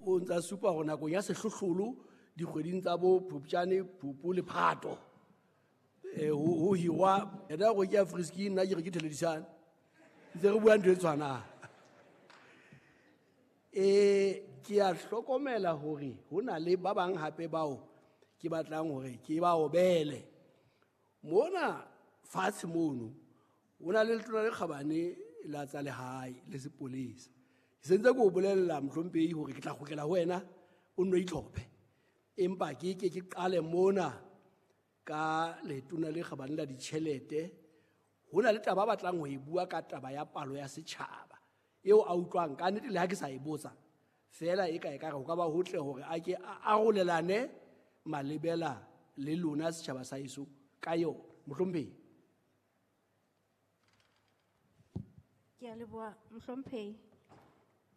O ntsa supa hore nakong ya sehlohlolo dikgweding tsa bo Phupjane, Phupu le Phato. Ho hirwa yena go ke ya Friski, nna ke re ke Theledisane. Ntse re bua ntho e tshwanang. Ke a hlokomela hore ho na le ba bang hape bao ke batlang hore ke ba obele. Mona fatshe mono ho na le letona le kgabane la tsa lehae le sepolesa. Ke sentse ke o bolella mohlomphehi hore ke tla kgutlela ho wena o nno itlhophe. Empa ke ke ke qale mona ka letona le kgabane la ditjhelete. Ho na le taba ba batlang ho e bua ka taba ya palo ya setjhaba eo a utlwang ka nnete le ha ke sa e botsa fela e ka e ka re ho ka ba hotle hore a ke a arolelane malebela le lona setjhaba sa heso ka yona. Mohlomphehi. Ke a leboha mohlomphehi.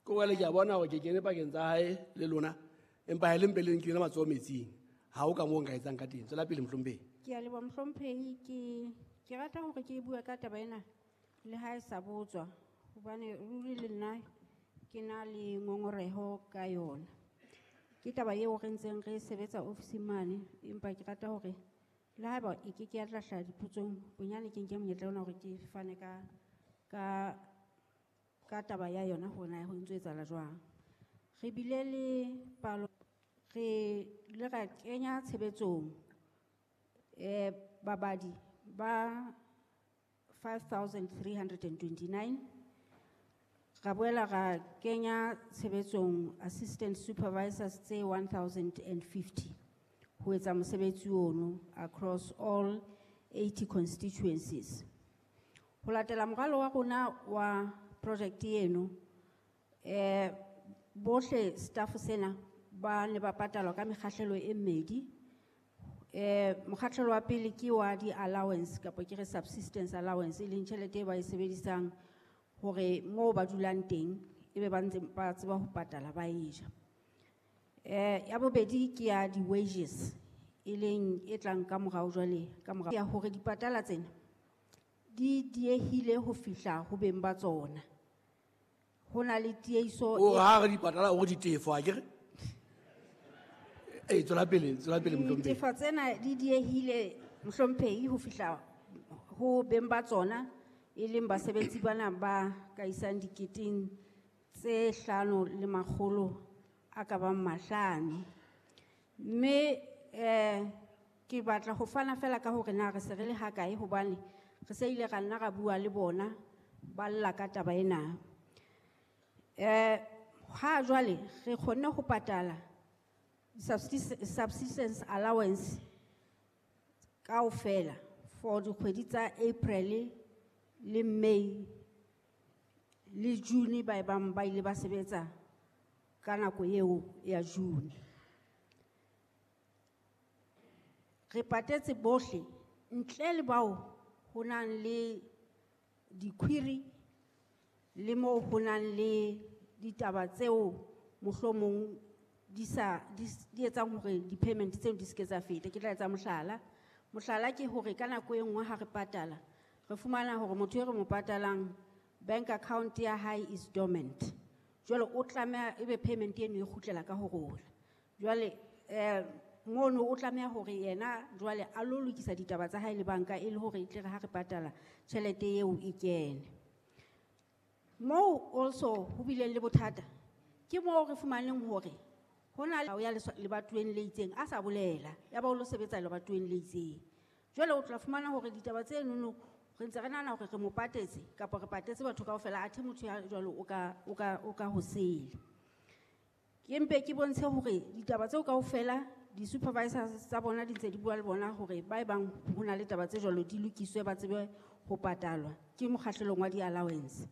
Ko wele ke a bona hore ke kene pakeng tsa hae le lona, empa ha e le mpe le nkile matsoho metsing. Ha ho ka moo nka etsang ka teng. Tswela pele mohlomphehi. Ke a leboha mohlomphehi. Ke rata hore ke bue ka taba ena le ha e sa botswa, hobane ruri le nna ke na le ngongoreho ka yona. Ke taba eo re ntseng re sebetsa ofising mane, empa ke rata hore le haeba e ke ke ya tla hlaha dipotsong, bonyane ke nke monyetla ona hore ke fane ka taba ya yona hore na ho ntso etsahala jwang. Re bile le palo, re ile ra kenya tshebetsong, babadi ba 5,329. Ra boela ra kenya tshebetsong assistant supervisors tse 1,050 ho etsa mosebetsi ono across all 80 constituencies. Ho latela moralo wa rona wa project eno, bohle staff sena ba ne ba patalwa ka mekgahlelo e mmedi. Mokgahlelo wa pele ke wa di-allowance kapa ke re subsistence allowance, e leng tjhelete e ba e sebedisang hore moo ba dulang teng ebe ba ntse ba tseba ho patala ba e ja. Ya bobedi ke ya di-wages, e leng e tlang ka morao jwale, ka morao ya hore dipatala tsena di diehile ho fihla ho beng ba tsona. Ho na le tiehiso O e ha re dipatala o re ditefo, ha ke re? Tswela pele, tswela pele, mohlomphehi. Ditefo tsena di diehile mohlomphehi ho fihla ho beng ba tsona, e leng basebetsi bana ba ka isang diketeng tse hlano le makgolo a ka bang mahlano. Mme, ke batla ho fana fela ka hore na re se re le hakae, hobane re se ile ra nna ra bua le bona ba lla ka taba ena. Ha jwale re kgonne ho patala subsistence allowance kaofela for dikgwedi tsa April le May le June, ba bang ba ile ba sebetsa ka nako eo ya June. Re patetse bohle ntle le bao ho nang le di-query le moo ho nang le ditaba tseo mohlomong di sa, di s-, di etsang hore di-payment tseo di se ke tsa feta. Ke tla etsa mohlala. Mohlala ke hore ka nako e nngwe ha re patala, re fumana hore motho e re mo patalang bank account ya hae is dormant. Jwale o tlameha ebe payment eno e kgutlela ka ho rona. Jwale, mono o tlameha hore yena jwale a lo lokisa ditaba tsa hae le banka e le hore e tle re ha re patala tjhelete eo e kene. Moo also ho bileng le bothata ke moo re fumaneng hore ho na le ya lebatoweng le itseng a sa bolela, ya ba o lo sebetsa lebatoweng le itseng. Jwale o tla fumana hore ditaba tse nono re ntse re nahana hore re mo patetse kapa re patetse batho kaofela, athe motho ya jwalo o ka ho sele. Ke mpe ke bontshe hore ditaba tseo kaofela di-supervisors tsa bona di ntse di bua le bona hore ba e bang ho na le taba tse jwalo di lokiswe ba tsebe ho patalwa ke mokgahlelong wa di-allowance.